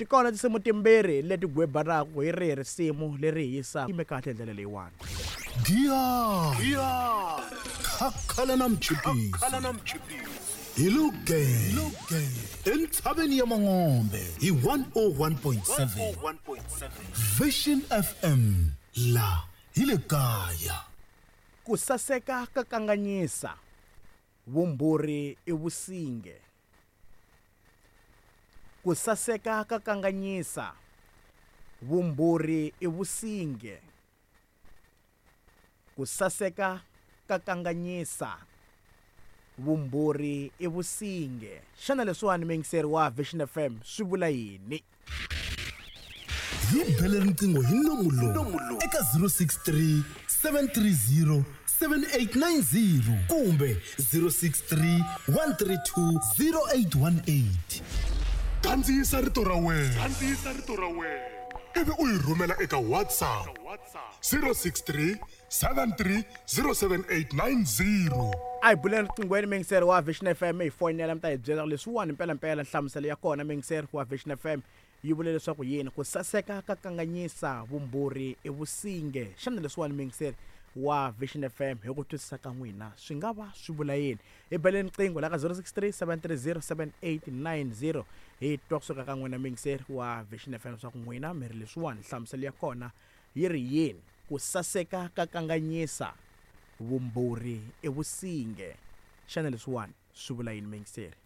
Ti kona tinsimu timbirhi leti gwebanaka hi rihi risimu leri hi yisaka yime kahle hi ndlela leyiwani. Giya Khakhala na mchipisi hi lo gee entshaveni ya Mangombe hi 101.7 Vision FM la hi le kaya. Ku saseka ka kanganyisa, vumbhurhi i vusinge. Ku saseka ka kanganyisa, vumbhurhi i vusinge. Ku saseka ka kanganyisa, vumbhurhi i vusinge. Xana leswiwani muyingiseri wa Vision FM swi vula yini? Hi bele riqingho hi nomu lowu eka 063 730 7890 kumbe 063 132 0818. Kandziyisa rito ra wena. Ivi u yi rhumela eka WhatsApp 063 73 07890. A hi buleni riqinghweni muyingiseri wa Vision FM hi foyinela mi ta hi byela leswiwani mpelampela nhlamuselo ya kona muyingiseri wa Vision FM yi vule leswaku yini ku saseka ka kanganyisa vumbhurhi i vusinge xana leswiwani muyingiseri wa Vision FM hi ku twisisa ka n'wina swi nga va swi vula yini hi beleni riqingho la ka 063 730 7890 hi twa kusuka ka n'wina muyingiseri wa Vision FM leswaku n'wina mi ri leswiwani nhlamuselo ya kona yi ri yini ku saseka ka kanganyisa vumbhurhi i vusinge xana leswiwani swi vula yini muyingiseri?